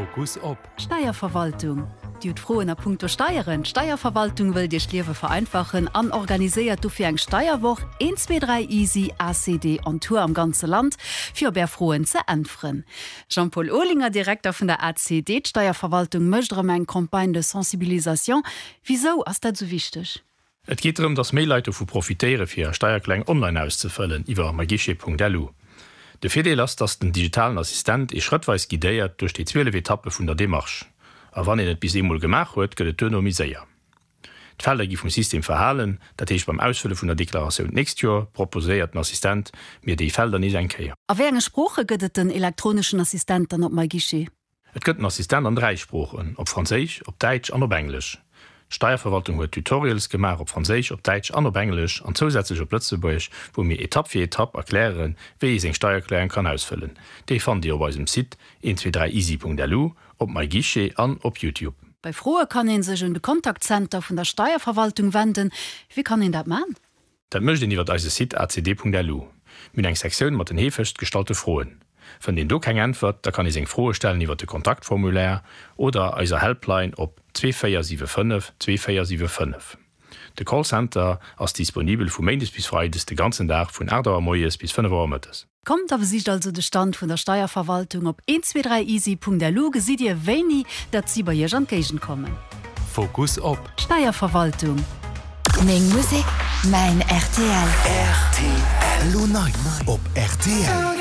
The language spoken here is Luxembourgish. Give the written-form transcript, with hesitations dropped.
Fokus op. D'Steierverwaltung. Dir hutt Froen a punkto Steieren? D'Steierverwaltung wëllt Iech d'Liewe vereinfachen an organiséiert dofir eng Steierwoch, 1, 2, 3 Easy ACD on Tour am ganze Land, fir op Är Froen ze äntweren. Jean-Paul Olinger, Direkter vun der ACD, D'Steierverwaltung mécht erëm eng Campagne de sensibilisation. Wisou ass dat esou wichteg? Et geet drëm, dass méi Leit dovu profitéiere fir hir Steiererklärung online auszefëllen iwwer myguichet.lu. De Virdeel ass, dass den digitalen Assistent ee schrëttweis guidéiert duerch déi 12 Etappe vun der Demarche. A wann een et bis eemol gemaach huet, gëtt et duerno méi séier. D'Felder gi vum System verhalen, dat heescht beim Ausfëlle vun der Deklaratioun d'nächst Joer proposéiert den Assistent mir déi Felder nees eng Kéier. A wéi enge Sprooche gëtt et den elektroneschen Assistent dann op myguichet? Et gëtt den Assistent an 3 Sproochen, op Franséisch, op Däitsch an op Englesch. D'Steierverwaltung huet Tutorials gemaach op Franséisch, op Däitsch an op Englesch an zousätzlech op Lëtzebuergesch, wou mir Etapp fir Etapp erklären, wéi ee seng Steiererklärung kann ausfëllen. Déi fannt Dir op eisem Site 123easy.lu, op MyGuichet an op Youtube. Bei Froe kann ee sech un de Contact-Center vun der Steierverwaltung wenden. Wéi kann een dat man? Dat mécht een iwwert eise Site acd.lu. Mir hunn eng Sektioun mat den heefegst gestallte Froen. Fënnt een do keng Äntwert, da kann ee seng Froe stellen iwwert de Kontaktformulaire oder eiser Helpline op 2475 2475. De Callcenter ass disponibel vu méindes bis freides de ganzen Dag vun 8 Auer moies bis 5 Auer mëttes. Kommt a besicht also de Stand vun der Steierverwaltung. Op 123easy.lu gesitt Dir wéini datt si bei Iech an d'Géigend kommen. Fokus op. D'Steierverwaltung. Meng Musek, mäin rtl. Rtl. Elo nei op rtl.